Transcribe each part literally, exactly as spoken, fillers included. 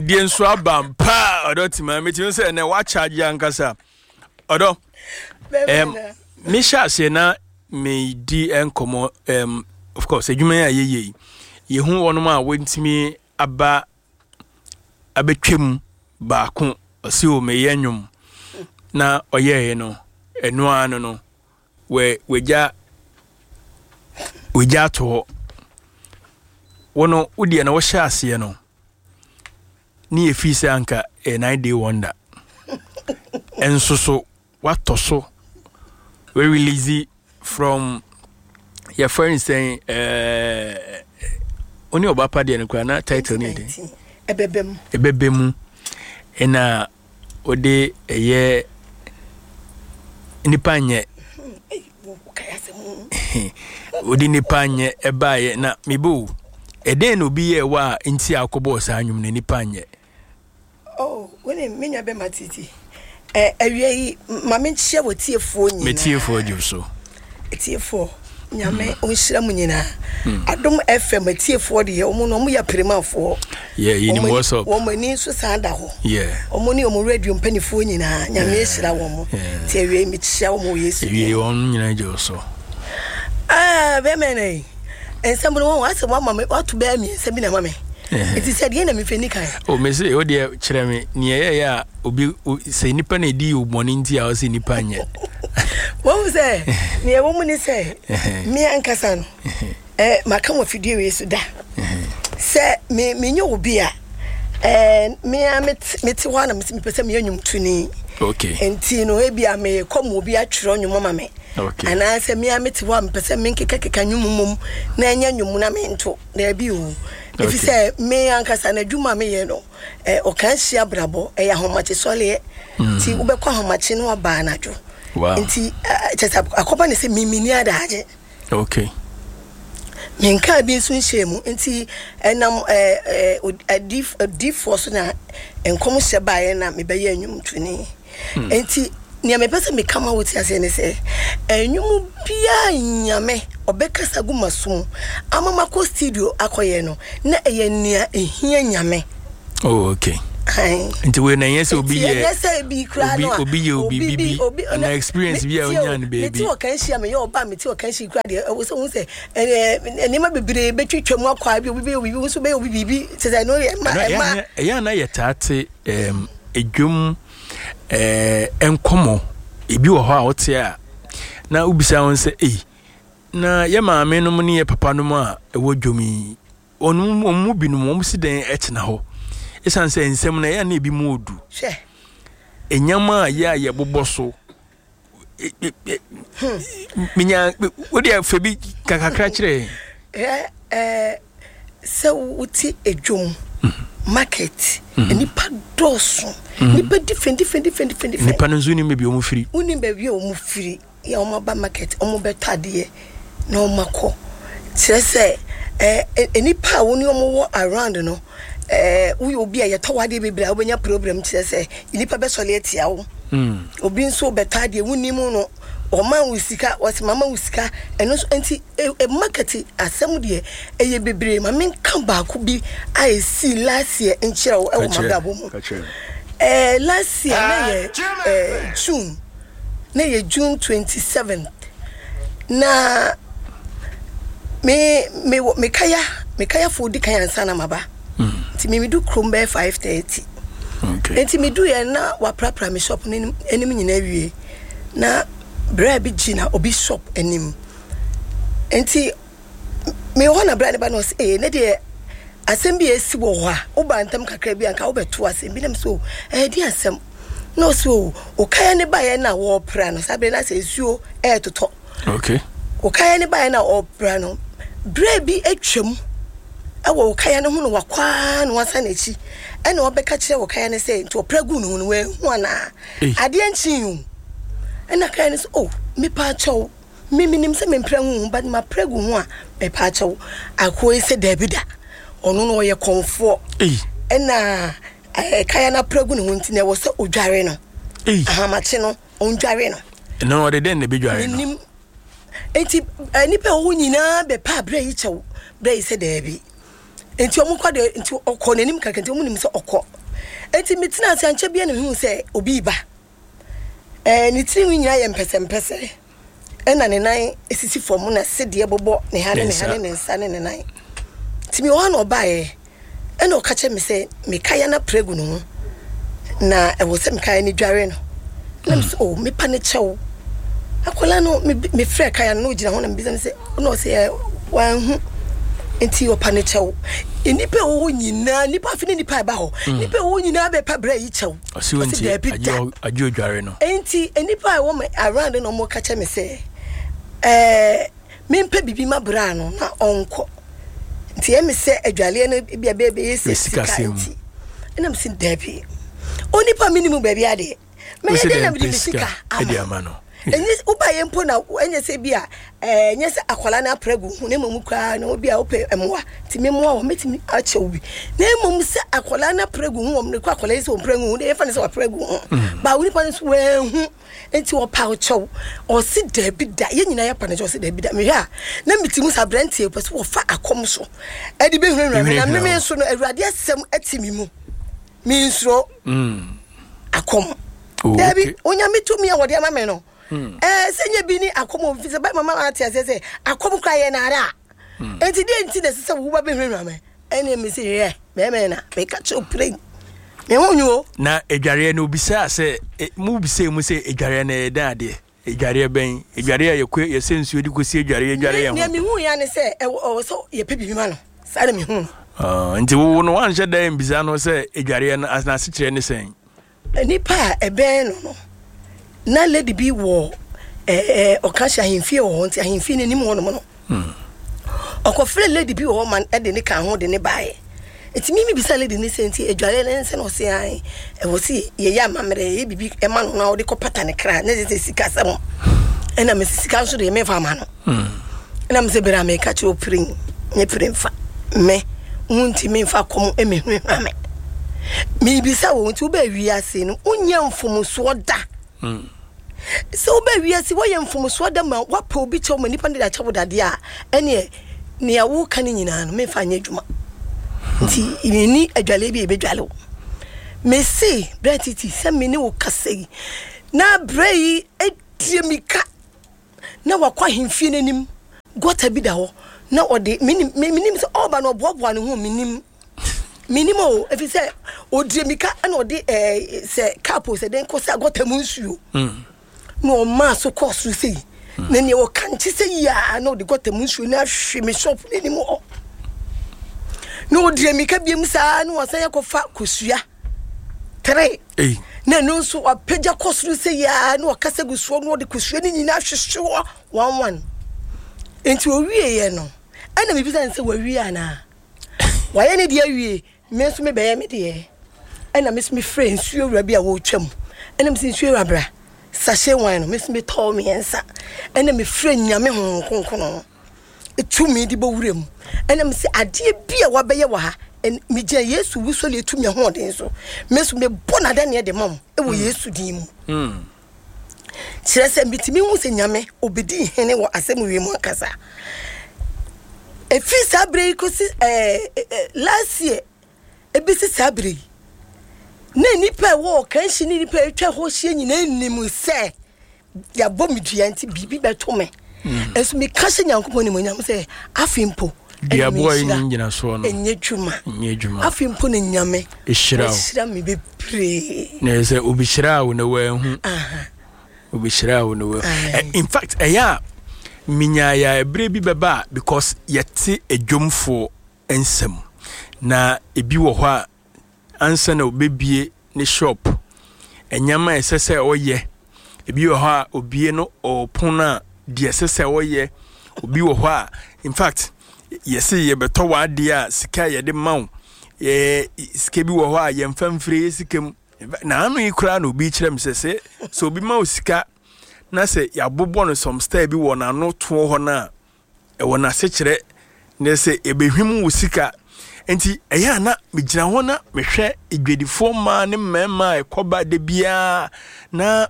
Die nso aba mpa ɔdɔ tima metumi sɛ ɛnɛ woakyagye ankasa ɔdɔ. um, mehyɛ aseɛ na medi nkɔmmɔ. um, of course, adwuma yi a yɛyɛ yi, yɛhu wɔnom a wɔntumi aba abɛtwam. Baako ɔsi o, meyɛ nnwom na ɔyɛɛ no, ɛno ara no no wɛ wagya wagya ato hɔ. Wo no, wodeɛ na wɔhyɛ aseɛ no ne yɛfii sɛ anka ɛyɛ nine day wonder, ɛnso so watɔ so we release from yɛfrɛ no sɛn, ɛɛ wo ne ɔba pa deɛ no koraa na title no yɛ den? Ɛbɛbɛ Mu. Ɛbɛbɛ Mu, ɛna wode ɛyɛ nipa nyɛ, wode nipa nyɛ ɛbaeɛ. Na mebo ɛdɛn na obi yɛɛ wɔ a nti a akɔbɔɔ saa nnwom no, nipa nyɛ? Oh, wone me nua bɛma titi. eh, awia yi ma menkyia wɔ tiefoɔ nyinaa. Metiefoɔ gye so. Tiefoɔ, Nyame ɔnhyira mu nyinaa. Adom F M atiefoɔ deɛ, ɔmo no ɔmo yɛ apirimafoɔ. Yeah, yɛnim what's up. Wɔn ani nso san da hɔ. Yeah. Ɔmo ne ɔmo radio mpanimfoɔ nyinaa, Nyame ahyira wɔn mo. Ti awia yi mekyia wɔn wɔ Yesu. Ewie wɔn nyinaa gye so. Ah, bɛmɛ na yi nsɛm no wɔn asɛ wɔama me wato bɛyɛ mmiɛnsa bi na ma me nti sɛ deɛ na mefɛ ni kan. O mese o deɛ, kyerɛ me nea ɛyɛ a obi sɛ nipa na edi bɔne nti a ɔsɛ nipa nyɛ. Wɔn sɛ nea ɛwɔ mu ne sɛ me ankasa no, eh, maka wɔ fidie wei so da sɛ me menyɛ obi a, eh, me a mete mete hɔ a na mete mepɛ sɛ meyɛ nnwomtoni. Okay nti no ebi a mekɔ ma obi atwerɛ nnwom ama me okay anaasɛ me a mete hɔ a mepɛ sɛ menkekakeka nnwom mmom na ɛnyɛ nnwom na mento, daabi o, ɛfiri sɛ me ankasa no adwuma a meyɛ no, eh, ɔka hyia abrabɔ ɛyɛ ahomakye sɔleɛ, nti wobɛkɔ ahomakye no aba anadwo. Wow nti eh, kyɛ sɛ akɔba ne sɛ memeni adagye. Okay menkaa bi nso nhyɛ mu, nti ɛnam eh, eh, adif- adiifoɔ so na nkɔm hyɛ baeɛ na mebɛyɛ nnwomtoni. Nti nea mepɛ sɛ meka ma wote aseɛ ne sɛ ɛnwom biaa Nyame ɔbɛkasa gu maso mu ama makɔ studio akɔyɛ no na ɛyɛ nea ɛhia Nyame. Oh, okay. Ae. Nti wei na ɛnyɛ sɛ obi nti yɛ ɛnyɛ sɛ bi koraa obi no a obi yɛ obi bibi ana experience bi a onya no mete baabi. wɔ kan hyia meyɛ ɔba, mete wɔ kan hyia koraa deɛ, ɛwɔ sɛ wohu sɛ ɛɛ, nneɛma bebree bɛtwitwa mu akɔ a bi obi bɛyɛ obi bi nso bɛyɛ obi biribi kyɛ sɛ ɛno yɛ ɛma ɛno ɛyɛ ɛma ana ɛyɛ ana yɛtaa te ɛm edwom ɛɛ nkɔmɔ ebi wɔ hɔ a wote a na wobisa wɔn sɛ, ei, na yɛ maame nom ne yɛ papa nom a ɛwɔ dwom yi, wɔn mu wɔn mu binom wɔn si dɛn ɛtena hɔ? Ɛsiane sɛ nsɛm no ɛyɛ na ebi mu odu hwɛ enyama a yɛ a yɛbobɔ so e- e- e- menya wodeɛ fɛ bi kakakra kyerɛ yɛn. Hwɛ, ɛɛ sɛ wote edwom market, nipa dɔɔso, nipa different different different different different. Nipa no nso nim baabi a wɔn firi. Wonim baabi a wɔn firi yɛ, wɔn aba market, wɔn bɛtɔ adeɛ na wɔn akɔ. Kyerɛ sɛ ɛɛ ɛ- nipa a wɔn ne wɔn wɔ around no, ɛɛ woyɛ obi a yɛtɔ wɔ adeɛ bebree a, wobɛnya problem, kyerɛ sɛ nipa bɛsɔre atia wo. Obi nso bɛtɔ adeɛ, wonim no, ɔma wo sika, wɔsɛ mama wo sika, ɛno nso nti e, e, market asɛm deɛ ɛyɛ bebree. Ma menka baako bi a ɛsii last year nkyerɛ wo ɛwɔ Ka kyerɛ, m'abrabɔ mu. Ka kyerɛ. ɛɛ last year na yɛ ɛɛ June, na yɛ June twenty seventh, na me me wɔ me kaya me kayafoɔ di kan ansa na maba, nti me medu kurom bɛyɛ five thirty. Okay nti medu yɛ na waprapra me shop no anim anim nyinaa wie, na berɛ bi gyina obi shop anim, nti mewɔ hɔ na berɛ ne ba na ɔsɛ ee, ne deɛ asɛm bi a ɛsi wɔ hɔ a woba ntam kakra bi anka wobɛto asɛm bi nam so ɛyɛ di asɛm, na ɔsɛ o, okaya ne baeɛ na wɔɔpra no saa berɛ no asɛ nsuo ɛɛtotɔ. Okay okaya ne baeɛ na ɔɔpra no, berɛ bi atwam ɛwɔ okaya no ho no, wakwaa na wasan n'akyi ɛna ɔbɛka kyerɛ okaya no sɛ nti ɔpra gu ne ho no wanhu anaa? Ei. Adeɛ nkyen o, ɛna kaya no sɛ, o, mepa akyɛw, me menim sɛ mempra gu ho, but mapra gu ho a, mepa akyɛw. Akoa yi sɛ daabi da, ɔno no ɔyɛ kɔnfoɔ. Ei. Ɛna ɛɛ kaya no apra gu ne ho nti na ɛwɔ sɛ odware no. Ei. Ahamakye no ɔndware no. Na ɔde dɛn na ɛbɛdware no? Menim, nti eh, nipa a ɛwɔ hɔ nyinaa bɛpa aberɛ yi kyɛw, berɛ yi sɛ daabi. Nti ɔmo kɔ de, nti ɔkɔ n'anim kakra, nti ɔmo nim sɛ ɔkɔ. Nti metena ase ankyɛ bia na mehu sɛ obi ba. Ɛɛ ne tirinwi nyinaa yɛ mpɛsɛmpɛsɛ, ɛna ne nan esisi fam na sedeɛ bobɔ ne ha ne ne ha ne ne nsa ne ne nan. Nti mi wɔ hɔ na ɔbaeɛ, ɛna ɔka kyerɛ me sɛ mekaya na pregu ne ho na ɛwɔ sɛ mekaya ne dware no. Na me sɛ, oh, mepa ne kyɛw. Akwadaa no, me mefrɛ kaya no na ogyina hɔ na mebisa no sɛ, na ɔsɛ ɛ wanhu, nti ɔpa ne kyɛw. Nnipa a ɛwɔ hɔ nyinaa, nnipa afi ne nnipa a ɛba hɔ, nnipa a ɛwɔ hɔ nyinaa bɛpa brɛ yi kyɛw. Ɔsi wɔn ti daabi da. Agye odware no. Nti nnipa a ɛwɔ me around na wɔn ka kyerɛ me sɛ, ɛɛ mempɛ bibi ma bra no na ɔnkɔ. Nti ɛmi sɛ adwaleɛ no bi a bɛyɛ bɛyɛ sɛ sika nti. Ɛna mi si daabi. Onipa mi ni mu baabi adeɛ. Mɛyɛ dɛ na mede me sika ama no. Ɛnyɛ wobayɛ mpo na ɛnyɛ sɛ bi a ɛnyɛ sɛ akwadaa no apra gu ho, na mmom koraa na obi a wopɛ mmoa nti memmoa wɔ mɛtumi akyɛ wo bi, na mmom sɛ akwadaa no apra gu ho wɔ mmerɛ kɔ akwadaa yi sɛ ɔmpra gu ho deɛ yɛfa no sɛ wapra gu ho ba wo nipa no nso wɔahu nti ɔpa kyɛw. Ɔse daabi da, yɛn nyinaa yɛpa no kyɛw. Ɔse daabi da. Mehwɛ a na meti mu sɛ aberanteɛ pɛ sɛ wɔfa akɔm so ɛde bɛhunahuna me, na meme nso no Awurade asɛm ati me mu, mensuro akɔm. Oh, daabi okay. Onyame tumi a wɔde ama me no, ɛɛ sɛ nyɛ bi ne akɔm a ofi sɛ bɛma ma ate aseɛ sɛ akɔm kora yɛ naara a, enti deɛ nti na ɛsɛ sɛ wo ba bɛhunahuna me? Ɛne me sɛ hwɛ bɛrima na meka kyerɛ pere me ho nwu o. Na adwareɛ no obisaa sɛ e, mu bisaa mu sɛ adwareɛ no ɛyɛ dɛn adeɛ? Adwareɛ bɛn? Adwareɛ a yɛkɔ yɛsɛ nsuo de kɔsi adwareɛ adware yɛn nea ho. Mehu ya ne sɛ ɛwɔ ɛwɔ sɛ yɛpɛ biribi ma no, saa na mehu no. Ah, nti wo no wanhyɛ da mbisa no sɛ adwareɛ no as- n'asekyerɛ ne sɛn? Nipa a ɛbɛn no no na lady bi wɔ ɛɛ ɔka hyɛ ahemfie wɔ hɔ, nti ahemfie no anim hɔ nom no ɔkɔfrɛ lady bi wɔ hɔ ma ɛde ne ka ho de ne baeɛ. Nti mimi bisa lady ne sɛ, nti adwareɛ no nsɛ na ɔse ae, ɛwɔ sɛ yɛyɛ amammerɛ, yɛyɛ biribi ɛma no na ɔde kɔpata ne kra, na sɛ sika sɛm ɛna mesi sika nso deɛ memfa ama no. Ɛna mesɛ berɛ a meka kyerɛ ɔpere nyɛ pere mfa me wo nti memfa kɔm ɛmɛhunahuna me. Miribisa wo, nti wobɛɛ wiase no wonyɛ mfomsoɔ da? Sɛ wobɛɛ wiase woyɛ mfomsoɔ da ma woapɛ obi kyɛw ma nipa no de akyɛ wo dadeɛ a, ɛneɛ nea woka no nyinaa no memfa nyɛ adwuma. Nti menni adwaleɛ bi a ɛbɛdwale wo. Mese berɛ titi sɛ me ne wo kasa yi na berɛ yi adie mika na wakɔ ahemfie no anim, gɔta bi da hɔ na ɔde menim menim sɛ ɔba no ɔboaboa ne ho, menim menim o, ɛfiri sɛ ɔdie mika ɛna ɔde ɛɛ sɛ kaapo sɛ den kɔ sɛ gɔta mu nsuo na ɔmaa so kɔɔ soro sɛ yi na nea ɔka nkye sɛ yi a na ɔde gɔta mu nsuo no ahwe me shop no anim hɔ na ɔdie mika biam saa na wasan akɔfa kosua tere Ei. Na ɛno nso wapagya kɔ soro sɛ yi a na ɔkasa gu soɔ na ɔde kosua no nyinaa hwehwe hɔ one one. Nti owieɛ no ɛna mebisa no sɛ wawie anaa wayɛ ne deɛ awie, me nso mebɛyɛ me deɛ. Ɛna me nso mefrɛ nsuo wura bi a wɔretwa mu, ɛna mese nsuo wura bra, sachet wine no me nso metɔɔ mmiɛnsa, ɛna mefrɛ Nyame Honhom Kronkron tumi de bɔ wura mu, ɛna mese adeɛ bi a wabɛyɛ wɔ ha, ɛn- megyina Yesu wusɔre tumi ahoɔden so, me nso mebɔ n'adaneɛ de ma mo ɛwɔ Yesu din mu. Kyerɛ sɛ metumi hu sɛ Nyame obɛdi hene wɔ asɛm wie mu ankasa. Ɛfiri saa berɛ yi kɔsi ɛɛ ɛɛ last year ɛbɛsi saa berɛ yi na nnipa a ɛwɔ ɔkanhyi ne nnipa a atwa hɔ hyia nyinaa nim sɛ yɛabɔ me dua nti biribi bɛto me. Ɛnso meka hyɛ Nyankopɔn nimonyam sɛ afei mpo ɛna Duaboa yi menhyira ne ngyinasoɔ no ɛnyɛ dwuma. Nyɛ adwuma. Afei mpo ne Nyame ɛhyira wo. Wahyira me bebree. Na ɛyɛ sɛ obi hyira wo na wanhu. Aha. Obi hyira wo na wanhu. Aye. Ɛ, in fact ɛyɛ a menyaeɛ a ɛberɛ bi bɛba a because yɛte adwomfoɔ nsɛm na ebi wɔ hɔ a ansa na obɛbie ne shop, ɛnyɛma a ɛsɛ sɛ ɔyɛ, ebi wɔ hɔ a obie no ɔpon a deɛ ɛsɛ sɛ ɔyɛ, obi wɔ hɔ a in fact yɛse yɛbɛtɔ w'adeɛ a sika a yɛde ma wo, ɛɛ sika bi wɔ hɔ a yɛmfa mfiri yɛ sika mu. Na ano yi koraa na obi kyerɛ me sɛ sɛ sɛ obi ma wo sika na sɛ yɛabobɔ no some style bi wɔ n'ano toɔ hɔ no a ɛwɔ n'asekyerɛ ne sɛ ɛbɛhwim wo sika. Nti ɛyɛ a na megyina hɔ na mehwɛ adwadifoɔ mmaa ne mmarima a ɛkɔba da biara na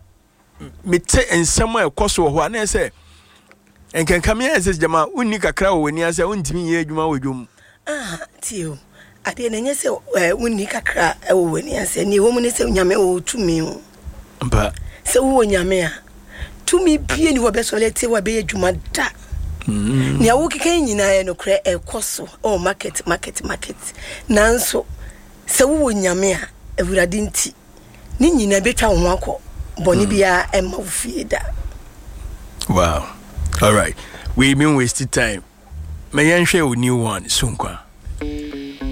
mete nsɛm a ɛkɔ so wɔ hɔ a na ɛyɛ sɛ nkanka me ayɛ sɛ gyama wonni kakra wɔ w'ani ase a wontumi nyɛ adwuma wɔ dwom. Aha, tie o. Adeɛ no ɛnyɛ sɛ eh, wonni kakra ɛwɔ w'ani ase. Nea ɛwɔ mu ne sɛ Nyame wɔ tumi o. Mpa. Sɛ wowɔ Nyame a, tumi bie ni hɔ bɛsɔre atie wɔ bɛyɛ adwuma da. Mm. Nea wokeka yi nyinaa yɛ nokorɛ, ɛkɔ so ɛwɔ market, market, market. Nanso sɛ wowɔ Nyame a, Awurade nti, ne nyinaa bɛtwa wo ho akɔ. Bɔne mm. biara ɛmma wo fie da. Wow. All right. We mean waste time. Ma yɛnhwɛ wo new one, Sunkwa.